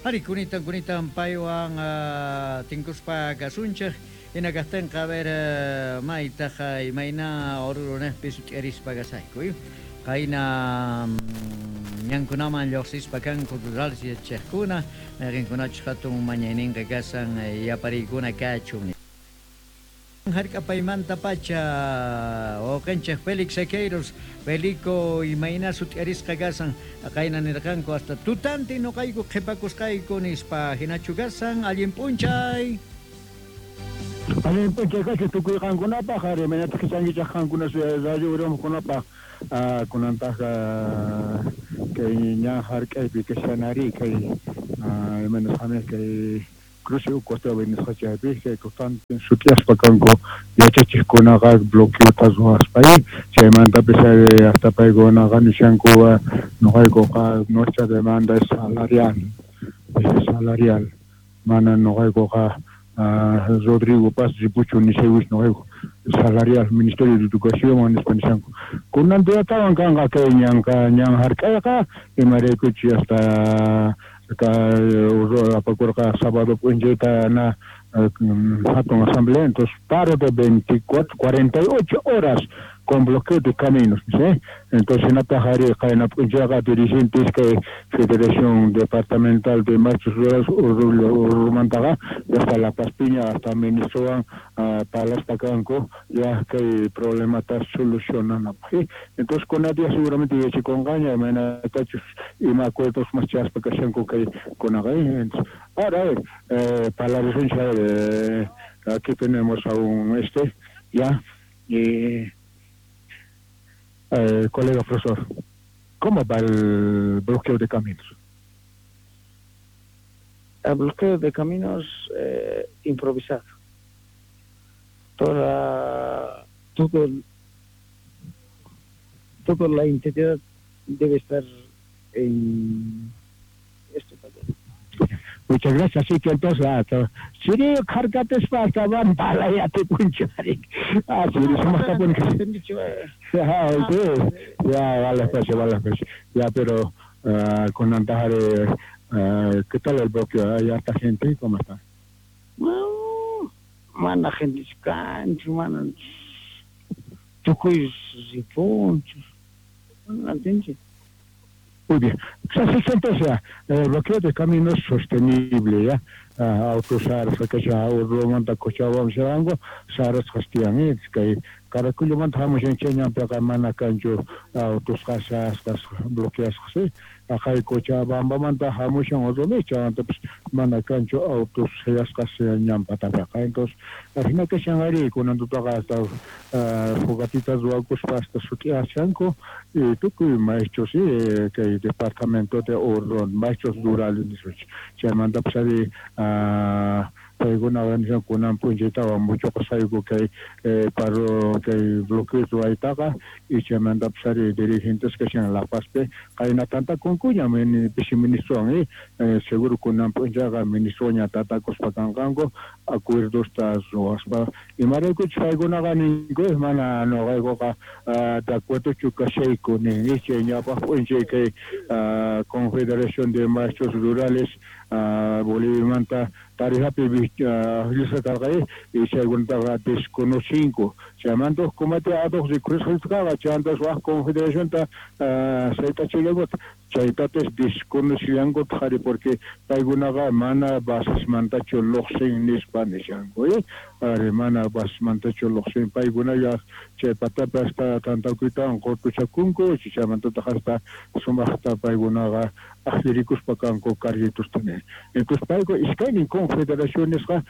Ari kunitan kunitan paywan tinkuspa kasunchej. Jina kajtenqa a ver maytaj imayna Oruro-nejpi sut'iarispa kasayku. Qayna ñankunaman llojsispa kanku rurales yachachejkuna, mayqenkunachus jatun mañayninqa kasan yapariykuna kachun. Jark'apaymantapacha wawqenchej Félix Sequeiros, Felico imayna sut'iarisqa kasan, qayna nirqanku hasta tutantin noqayku qhipakusqayku nispa, jinachu kasan, allin p'unchay. Allin p'unchay kachu tukuy qankunapaj, ari imaynataq kichankichaj qankuna radio urumkunapaj, kunantaj kay ñan jark'aypi kashanari kay imaynas kay cruce Ucuatawi nisqa chaypi chay tutantin sut'iaspa kanku yachachijkunaqa bloqueota ruwaspa chaymantapis hasta paykunaqa nishanku noqaykuqa nuestra demanda es salarial, salarial mana noqaykuqa Rodrigo Paz ripuchu nishaywis noqayku salarial Ministerio de Educación nispa nishanku kunan diatawan kanqa kay ñanqa ñan jark'ayqa imaraykuchi hasta apakurqa sábado p'unchayta na hatun asamblea, entonces paro de 24, 48 horas con bloqueo de caminos, ¿sí? Entonces hinataq ari qayna p'unchayqa dirigentes kay Federación Departamental de Maestros Rurales Urumantaqa hasta La Paz Piña hasta ministrowan parlaspa kanku ya kay problemata solucionanapaq. Entonces kuna día seguramente yachakunqaña imaynatachus ima acuerdos mas chaspa kashanku kay kunaqa. Entonces, ahora a ver, parlarisunchik, aquí tenemos a un ya y colega profesor, ¿cómo va el bloqueo de caminos? El bloqueo de caminos improvisado. Toda la identidad debe estar en esto también. Muchas gracias. Así que entonces, Siri, cargate hasta van para ya te punchari. Ah, Siri, somos tapones. Ya, vale, pues, vale, pues. Ya, pero con Antajare, ¿qué tal el bloqueo? ¿Hay harta gente? ¿Cómo está? No, mana gente cancho, mana tukuy ripuncho. No entiendo. Muy bien. Así que entonces, el bloqueo de caminos sostenible, ya, autos saras, Urumanta Cochabamba, Sharango, saras Castian, que Caracullo-manta hamushan chay ñanpiqa mana kanchu autos qasasqas bloqueasqas, ¿sí? Aqay Cochabambamanta hamushan Oruro chaymantapas mana kanchu autos sayasqas ñanpatapiqa. Entonces, ajina kashan ari kunan tutaqa hasta fogatitas ruwakuspa hasta sut'iashanku y tukuy maestros, ¿sí? Kay departamento de Oruro, maestros rurales nisunchik. Chaymantapas ari paykuna nishan kunan p'unchaytawan muchuqasayku kay paro kay bloqueo ruwaytaqa y chaymantapas ari dirigentes kashan La Pazpi qayna tantakunkuña pisi ministrowan seguro kunan p'unchayqa ministroña tatakuspa kanqanku acuerdosta ruwaspa imaraykuchus paykunaqa ninku mana noqaykuqa de acuerdochu kashayku nin chay ñawpaq p'unchay kay Confederación de Maestros Rurales Boliviamanta Tarijapi llisqa karqa y chaykunataqa desconocinku chaymanta huk comité ad hoc rikurisqaqa chaymantas waj confederacionta saytachillankutaq chaytatas desconocillankutaq ari porque paykunaqa mana basesmantachu lluqsin nispa nishanku ari mana basesmantachu lluqsin paykunalla chay patapi hasta tantakuytawan qurtuchakunku chaymantataq hasta sumaqta paykunaqa ajllirikuspa kanku carguitosta. Entonces payku iskaynin confederacionesqa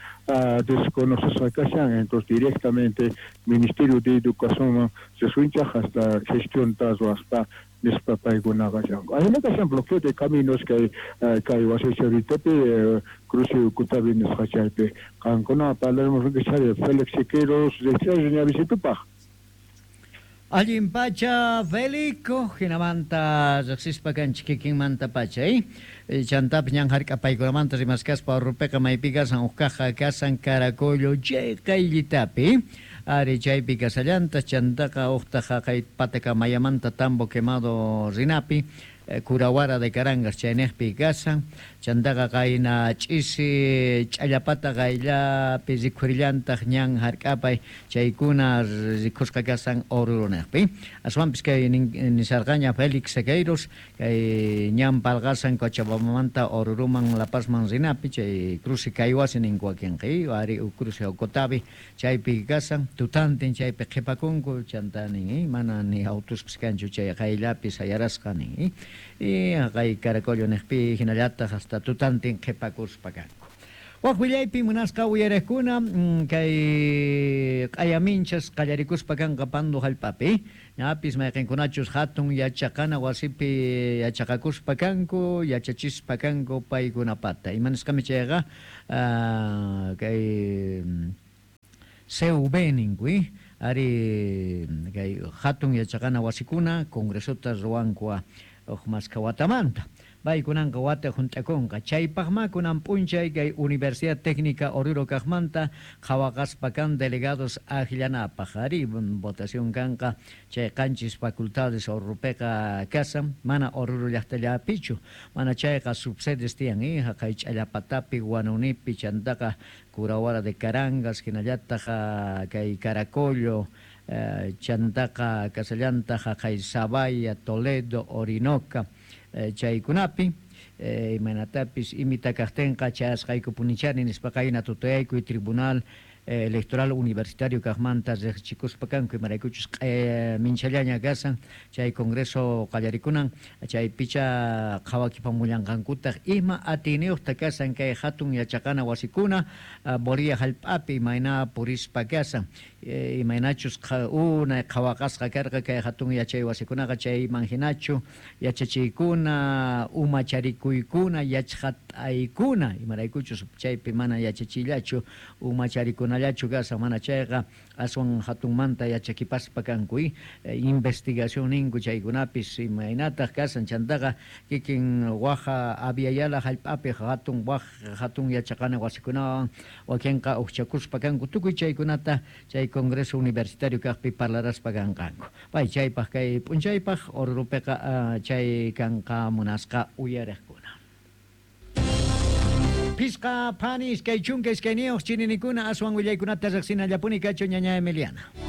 desconocesqa kashan, entonces directamente Ministerio de Educación risunchaq hasta gestionta ruwaspa nispa paykunaqa kashanku. Ajina kashan bloqueo de caminos kay kay wasicharitapi cruce Ucutavi nisqa chaypi qankuna parlaremos Félix Siqueiros ñavisitupaj. Allin pacha Felico, jinamanta riqsispa kanchik kikinmanta pacha, chantapis ñan jark'apaykunamanta rimaskaspa Orrupiqa maypi kasan huk kaqqa kasan Caracollo chay qayllitapi, ari chaypi kasallanta chantaqa uqtaq haqay Patakamayamanta Tambo Quemado rinapi. Curahuara de Carangas chaynejpi kashan. Chantaqa qayna ch'isi Ch'allapata qayllapi rikhurillantaj ñan jark'apay chaykuna rikhusqa kashan Orurunejpi. Aswanpis kay nisharqaña Félix Sequeiros kay ñan palqasan Cochabambamanta Oruruman La Pazman rinapi chay cruce Caihuasi ninku wakinqa ari cruce Ocotavi chaypi kashan tutantin chaypi qhipakunku chanta nin mana ni autospis kanchu chay qayllapi sayarasqa nin y haqay Caracollo nejpi hinallataq hasta tutantin qhipakuspa kanku. Waj willaypi munasqa uyarejkuna kay q'ayaminchas qallarikuspa kanqa Pando jallp'api ñapis mayqinkunachus hatun yachaqana wasipi yachaqakuspa kanku yachachispa kanku paykunapata imanisqami chayqa kay CV ninku ari kay hatun yachaqana wasikuna congresota ruwanku uj maskha watamanta paykunanqa wata junt'akunqa chaypaqma kunan p'unchay kay Universidad Técnica Oruro kaqmanta qhawaqaspa kan delegados ajllanapaq ari votación kanqa chay qanchis facultades Oruropiqa kasan mana Oruro llaqtallapichu mana chayqa subsedes tiyan haqay Ch'allapatapi Guanunipi chantaqa Curahuara de Carangas hinallataq kay Caracollo chantaqa kasallantaq haqay Sabaya, Toledo, Orinoca chaykunapi imaynatapis imita kaqtinqa chayasqaykupunichani nispa qayna tutayaykuy Tribunal Electoral Universitario kaqmanta riqchikuspa kanku imaraykuchus minchallaña kasan chay congreso qallarikunan chay picha qhawakipamullanqankutaq ima atiyniyuqta kasan kay hatun yachaqana wasikuna Bolivia jallp'api imayna purispa kasan imaynachus unay qhawaqasqa karqa kay hatun yachay wasikunaqa chayman hinachu yachachiykuna umacharikuykuna yachqat'aykuna imaraykuchus chaypi mana yachachiyllachu umacharikunallachu kasan mana chayqa aswan hatunmanta yachakipaspa kanku investigación ninku chaykunapis imaynataq kasan chantaqa kikin waja Abya jallp'api hatun waj hatun yachaqana wasikunawan wakinqa uqchakuspa kanku tukuy chaykunata chay congreso universitario kaqpi parlaraspa kanqanku pay chaypaq kay p'unchaypaq Oruropiqa chay kanqa munasqa uyariqkuna. Pisqa phani iskay chunka iskayniyuq chininikuna aswan willaykunata riqsinallapuni kachu ñaña Emiliana.